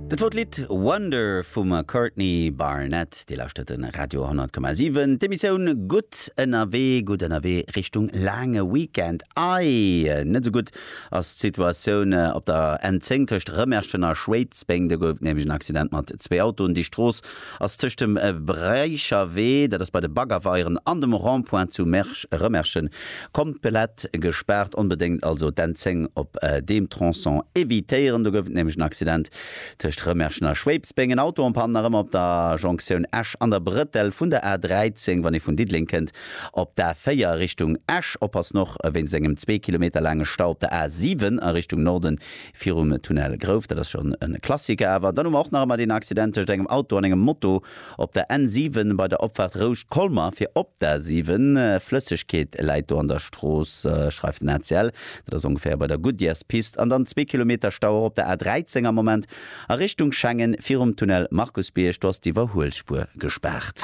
Dat wor d'Lidd Wonder vum Courtney Barnett. Dir lauschtert de Radio 100,7, d'Emissioun Gutt ënnerwee, gutt ënnerwee Richtung laange Weekend. Ei, net esou gutt ass d'Situatioun op der N10 tëscht Rëmerschen a Schwéidsbeng. Do gouf et nämlech en Accident mat zwee Autoen. Déi Strooss ass tëscht dem Breicherwee, dat ass bei de Baggerweieren, an dem Rond-point zu Rëmerschen komplett gespaart. Onbedéngt also d'N10 op deem Tronçon evitéieren. Do gouf et nämlech en Accident tëscht Rëmerschen a Schwéidsbeng. En Auto en panne nach ëmmer op der Jonktioun Esch an der Brëttel vun der A13, wann ee vun Diddeleng kënnt op d'A4 Richtung Esch. Oppassen och wéinst engem zwee Kilometer laange Stau op der A7 a Richtung Norden Virum Tunnel Grouf, dat ass schonn e Klassiker awer. Dann hu mer och nach ëmmer deen Accident tëscht engem Auto an engem Moto op der N7 bei der Opfaart Rouscht-Colmer fir op d'A7. Flëssegkeet läit do an der Strooss, schreift den ACL. Dat ass ongeféier bei der Goodyears-Pist. An dann zwee Kilometer Stau och op der A13 am Moment a Richtung Schengen virum Tunnel Markusbierg. Do ass d'Iwwerhuelspuer gespaart.